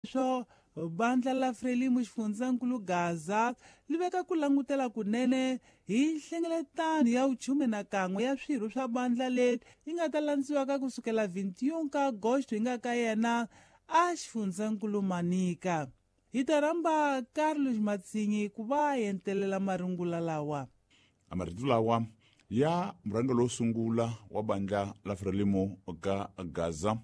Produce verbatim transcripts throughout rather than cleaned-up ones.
Sweswo bandla la Frelimo xifundzankulu Gaza li veka ku langutela kunene hi nhlengeletano ya vuchume na kan'we ya swirho swa bandla leri yi nga ta landziwaka kusukela vintiun ka Agosto yi nga ka yena a xifundzankulu Manica. Hi ta rhamba Carlos Matsinyi ku va a entelela marungula lawa. A marito lawa ya murhangeri wo sungula wa bandla la Frelimo ka Gaza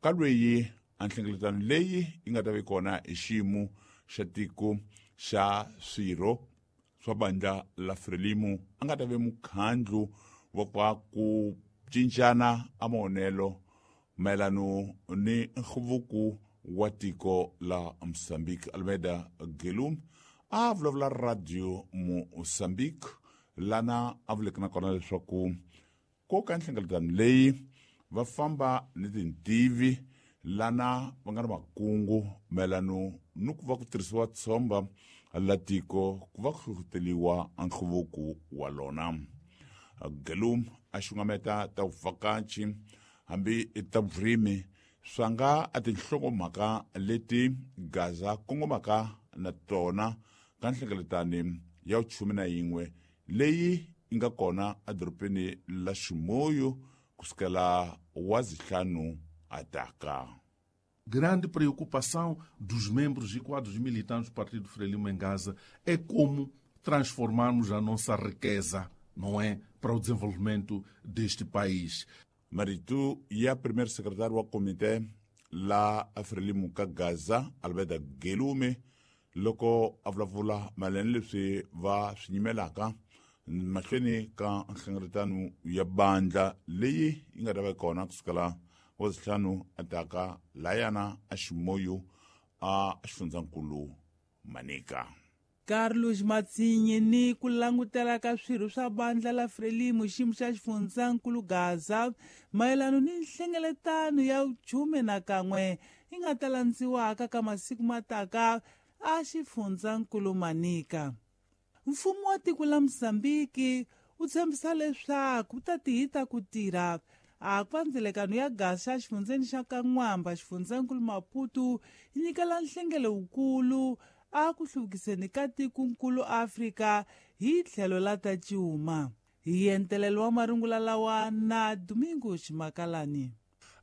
ka lweyi a nhlengeletano leyi yi nga ta va kona hi xiyimo xa tiko xa swirho swa bandla la Frelimo a nga ta ve mukhandlu wa kwa ku cincana a maonelo mayelano ni nhluvuko wa tiko la Mozambique. Almeida Gelum a vulavula radio Mozambique lana a vuleke na kona leswaku ko ka nhlengeletano leyi va famba ni tintivi lana va nga ri makungu mayelano ni ku va ku tirhisiwa tshomba la tiko ku va ku hlohloteriwa nhluvuko wa lona. Gelum a xungameta ta vuvhakachi hambi ta vurimi swa nga a tinhlokomhaka leti Gaza kongomaka na tona ka nhlengeletano ya vuchume na yin'we leyi yi nga kona edorobeni la Chimoio kusukela wa zihlanu ataka. Grande preocupação dos membros e quadros militantes do Partido Frelimo em Gaza é como transformarmos a nossa riqueza, não é, para o desenvolvimento deste país. Marito ya primeiro secretário wa comité la Frelimo ka Gaza Almeida Gelume loko a vulavula mayelana leswi va swi nyimelaka mahlweni ka nhlengeletano ya bandla leyi yi nga ta va kona kusukela wa zihlanu ataka layana a Chimoio a xifundzankulu Manica. Carlos Matsinyi ni ku langutela ka swirho swa bandla la Frelimo xiyimo xa xifundzankulu Gaza mayelano ni nhlengeletano ya vuchume na kan'we yi nga ta landziwaka ka masiku mataka a xifundzankulu Manica. Mfumo wa tiko la Mozambique wu tshembisa leswaku wu ta tihita ku tirha a ku va ndzelekano ya gasi xa xifundzeni xa Kan'wamba xifundzankulu Maputo yi nyikela nhlengelo wukulu a ku hluvukiseni ka tikonkulu Afrika hi tlhelo la ta cuma. Hi entelelo wa marungula lawa na Domingo Ximakalani.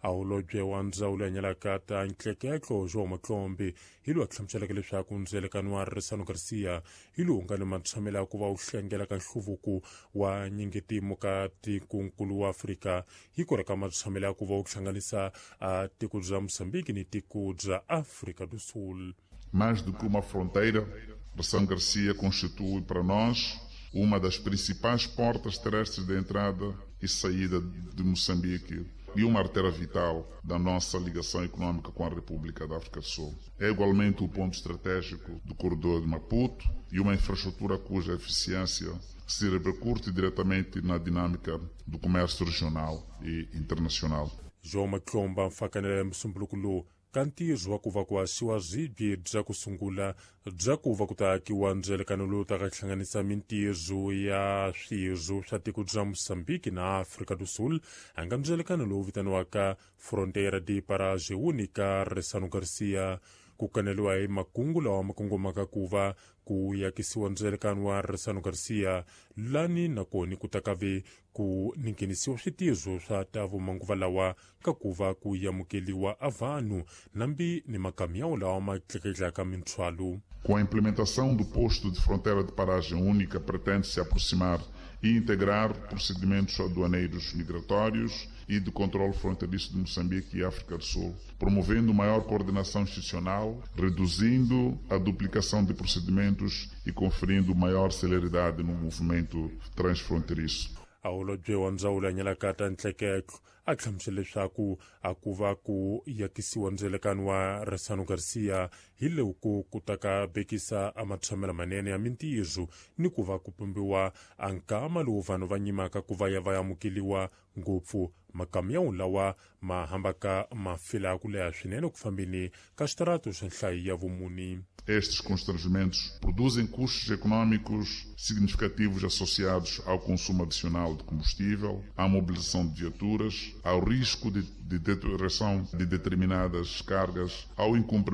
A holobye wa ndzawulo ya nyalaka ta ntleketlo João Matlombe hi lowu a hlamuseleke leswaku ndzelekano wa Ressano Garcia hi lowu nga ni matshamelo ya ku va wu hlengela ka nhluvuko wa nyingetimu ka tikonkulu wa Afrika hi ku reka matshamelo ya ku va wu hlanganisa a tiko bya Mozambique ni tiko bya Afrika do Sul. Mais do que uma fronteira, Ressano Garcia constitui para nós uma das principais portas terrestres de entrada e saída de Moçambique e uma artéria vital da nossa ligação econômica com a República da África do Sul. É igualmente o ponto estratégico do corredor de Maputo e uma infraestrutura cuja eficiência se repercute diretamente na dinâmica do comércio regional e internacional. João Matlomba mfakanela musumbuluko lowu ka ntirho wa ku va ku haxiwa swibye bya ku sungula bya ku va ku ta akiwa ndzelekano lowu ta ka hlanganisa mintirho ya swirho swa tiko bya Mozambique na Afrika do Sul a nga ndzelekano lowu vitaniwaka Fronteira de Paragem Única Ressano Garcia. Ku kaneliwa hi makungu lawa ma kongomaka ku va ku yakisiwa ndzelekano wa Ressano Garcia lani nakoni ku ta ka ve ku ninghenisiwa switirho swa ta vumanguva lawa ka ku va ku amukeliwa a vanhu nambi ni makamiyawu lawa ma tleketlaka minthwalo. Com a implementação do posto de fronteira de paragem única, pretende-se aproximar e integrar procedimentos aduaneiros migratórios e de controle fronteiriço de Moçambique e África do Sul, promovendo maior coordenação institucional, reduzindo a duplicação de procedimentos e conferindo maior celeridade no movimento transfronteiriço. A holobye wa ndzawulo ya nyalaka ta ntleketlo a hlamusela leswaku a ku va ku yakisiwa ndzelekano wa Ressano Garcia hi loko ku ta ka bekisa a matshamelo manene ya mintirho ni ku va ku pumbiwa a nkama lowu vanhu va nyimaka ku va ya va amukeliwa ngopfu makamiyawu lawa ma hambaka ma fela ku leha swinene ku fambeni ka xitarato xa nhlayo ya vumuni. Estes constrangimentos produzem custos econômicos significativos associados ao consumo adicional de combustível, à mobilização de viaturas, ao risco de, de deterioração de determinadas cargas, ao incumprimento